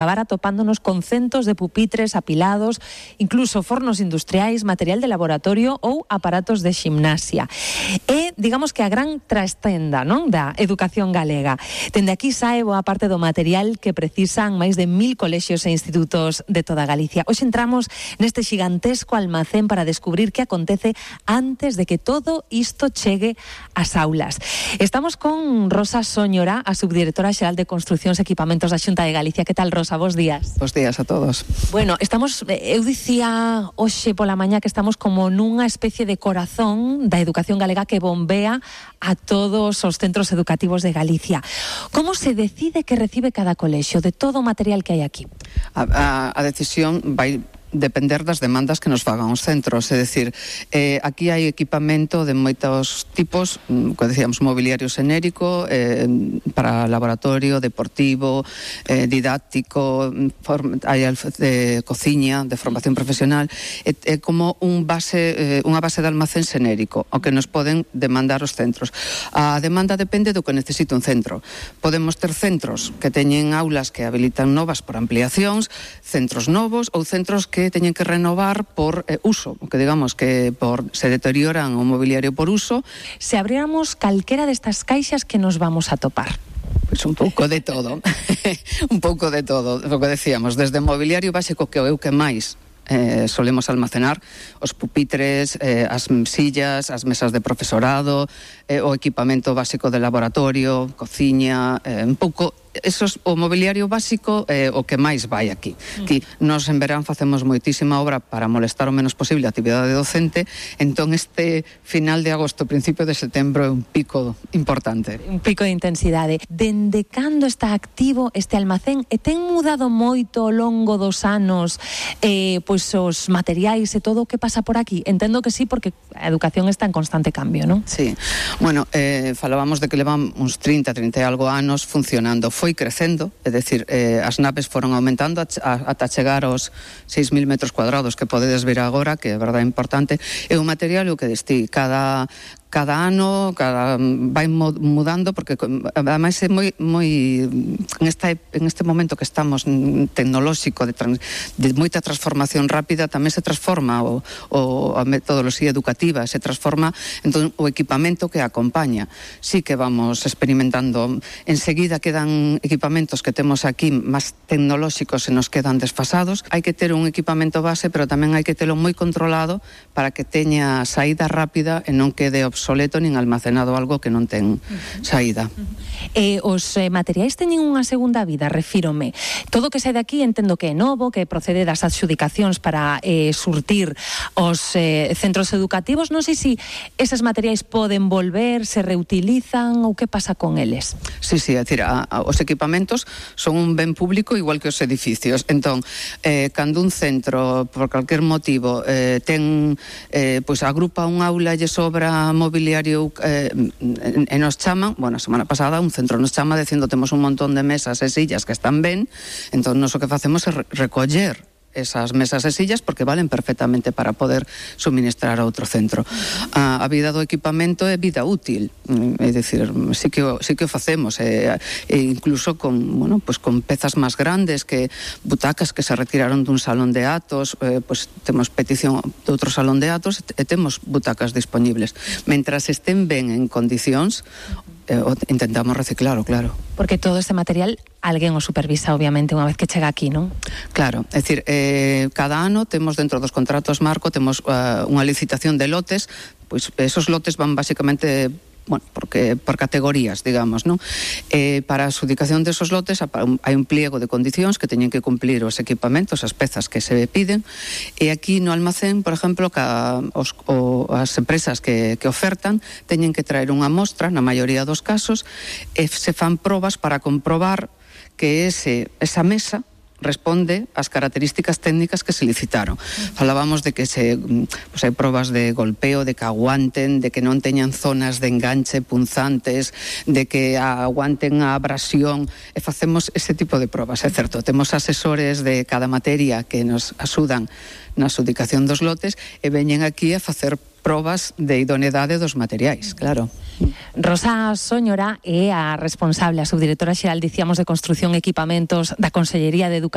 acabar atopándonos con centos de pupitres apilados, incluso fornos industriais, material de laboratorio ou aparatos de ximnasia. É, digamos que a gran trastenda, non, da educación galega. Dende aquí sae boa parte do material que precisan máis de 1000 colexios e institutos de toda Galicia. Hoxe entramos neste xigantesco almacén para descubrir que acontece antes de que todo isto chegue ás aulas. Estamos con Rosa Sóñora, a subdirectora xeral de Construcións e Equipamentos da Xunta de Galicia. Que tal, Rosa? Bos días. Bos días a todos. Bueno, estamos, eu dicía hoxe pola mañá que estamos como nunha especie de corazón da educación galega que bombea a todos os centros educativos de Galicia. Como se decide que recibe cada colexio de todo o material que hai aquí? A decisión vai depender das demandas que nos fagan os centros, é dicir, aquí hai equipamento de moitos tipos, como decíamos, mobiliario xenérico, para laboratorio, deportivo, didáctico, hai de cociña, de formación profesional, é como unha base de almacén xenérico, o que nos poden demandar os centros. A demanda depende do que necesite un centro. Podemos ter centros que teñen aulas que habilitan novas por ampliacións, centros novos ou centros que teñen que renovar por uso, que digamos que se deterioran o mobiliario por uso. Se abriéramos calquera destas caixas, que nos vamos a topar? Pois un pouco de todo. Un pouco de todo, o que decíamos, desde mobiliario básico, que é o que máis solemos almacenar, os pupitres, as sillas, as mesas de profesorado, o equipamento básico de laboratorio, cociña, un pouco. O mobiliario básico é o que máis vai aquí. Aquí nos en verán facemos moitísima obra para molestar o menos posible a actividade docente, entón este final de agosto, principio de setembro é un pico importante. Un pico de intensidade. Dende cando está activo este almacén e ten mudado moito ao longo dos anos pois os materiais e todo o que pasa por aquí? Entendo que sí, porque a educación está en constante cambio, non? Sí. Bueno, falábamos de que levan uns 30 e algo anos funcionando. Foi crecendo, é dicir, as naves foron aumentando ata chegar aos 6.000 metros cuadrados que podedes ver agora, que é verdade importante. É un material o que destí cada ano vai mudando, porque ademais é moi en este momento que estamos tecnolóxico de moita transformación rápida, tamén se transforma a metodoloxía educativa, se transforma entón o equipamento que acompaña. Sí que vamos experimentando, enseguida quedan equipamentos que temos aquí máis tecnolóxicos e nos quedan desfasados. Hai que ter un equipamento base, pero tamén hai que telo moi controlado para que teña saída rápida e non quede obsoleto nin almacenado algo que non ten saída. Os materiais teñen unha segunda vida, refírome. Todo o que sai de aquí entendo que é novo, que procede das adxudicacións para surtir os centros educativos. Non sei se eses materiais poden volver, se reutilizan ou que pasa con eles. Sí, é dicir, os equipamentos son un ben público igual que os edificios. Entón, cando un centro, por calquer motivo, pois agrupa un aula e sobra mobiliario e nos chaman, bueno, a semana pasada un centro nos chama dicindo temos un montón de mesas e sillas que están ben, entón nos o que facemos é recoller esas mesas e sillas porque valen perfectamente para poder suministrar a outro centro. A vida do equipamento é vida útil, é dicir, sí que o facemos, incluso con pezas máis grandes, que butacas que se retiraron dun salón de atos, pois temos petición de outro salón de atos e temos butacas disponibles. Mentras estén ben en condicións, intentamos reciclalo, claro. Porque todo este material alguén o supervisa, obviamente, unha vez que chega aquí, non? Claro, é dicir, cada ano temos dentro dos contratos marco, temos unha licitación de lotes, pois esos lotes van basicamente por categorías, digamos, non? Para a adxudicación desos lotes hai un pliego de condicións que teñen que cumplir os equipamentos, as pezas que se piden, e aquí no almacén, por exemplo, as empresas que ofertan teñen que traer unha mostra, na maioría dos casos, e se fan probas para comprobar que esa mesa responde ás características técnicas que se licitaron. Falábamos de que hai probas de golpeo, de que aguanten, de que non teñan zonas de enganche punzantes, de que aguanten a abrasión, e facemos ese tipo de probas, é certo. Temos asesores de cada materia que nos axudan na adxudicación dos lotes e veñen aquí a facer probas de idoneidade dos materiais, claro. Rosa Sóñora é a responsable, a subdirectora xeral, dicíamos, de Construción e Equipamentos da Consellería de Educación.